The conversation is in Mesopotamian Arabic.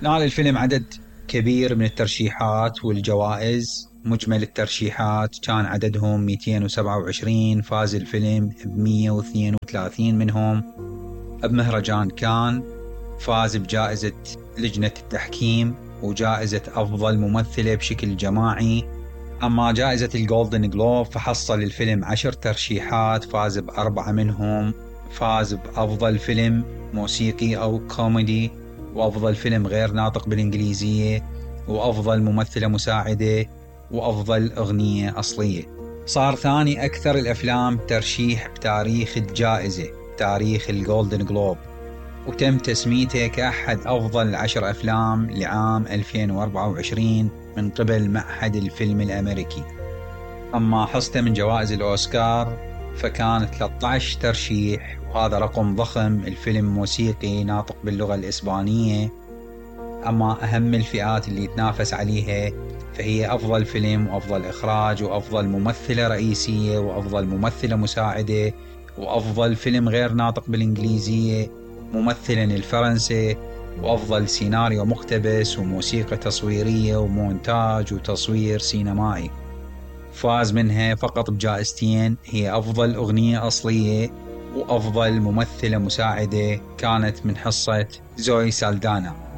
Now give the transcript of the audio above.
نال الفيلم عدد كبير من الترشيحات والجوائز. مجمل الترشيحات كان عددهم 227. فاز الفيلم ب132 منهم. بمهرجان كان فاز بجائزة لجنة التحكيم وجائزة أفضل ممثلة بشكل جماعي. أما جائزة الجولدن جلوب فحصل الفيلم 10 ترشيحات، فاز ب4 منهم. فاز بأفضل فيلم موسيقي أو كوميدي، وأفضل فيلم غير ناطق بالإنجليزية، وأفضل ممثلة مساعدة، وأفضل أغنية أصلية. صار ثاني أكثر الأفلام ترشيح بتاريخ الجائزة، تاريخ الجولدن جلوب، وتم تسميته كأحد أفضل 10 أفلام لعام 2024 من قبل معهد الفيلم الأمريكي. أما حصته من جوائز الأوسكار فكان 13 ترشيح، وهذا رقم ضخم. الفيلم موسيقي ناطق باللغة الإسبانية. أما أهم الفئات اللي يتنافس عليها فهي أفضل فيلم، وأفضل إخراج، وأفضل ممثلة رئيسية، وأفضل ممثلة مساعدة، وأفضل فيلم غير ناطق بالإنجليزية، ممثلا الفرنسي، وأفضل سيناريو مقتبس، وموسيقى تصويرية، ومونتاج، وتصوير سينمائي. فاز منها فقط بجائزتين، هي أفضل أغنية أصلية وأفضل ممثلة مساعدة، كانت من حصة زوي سالدانا.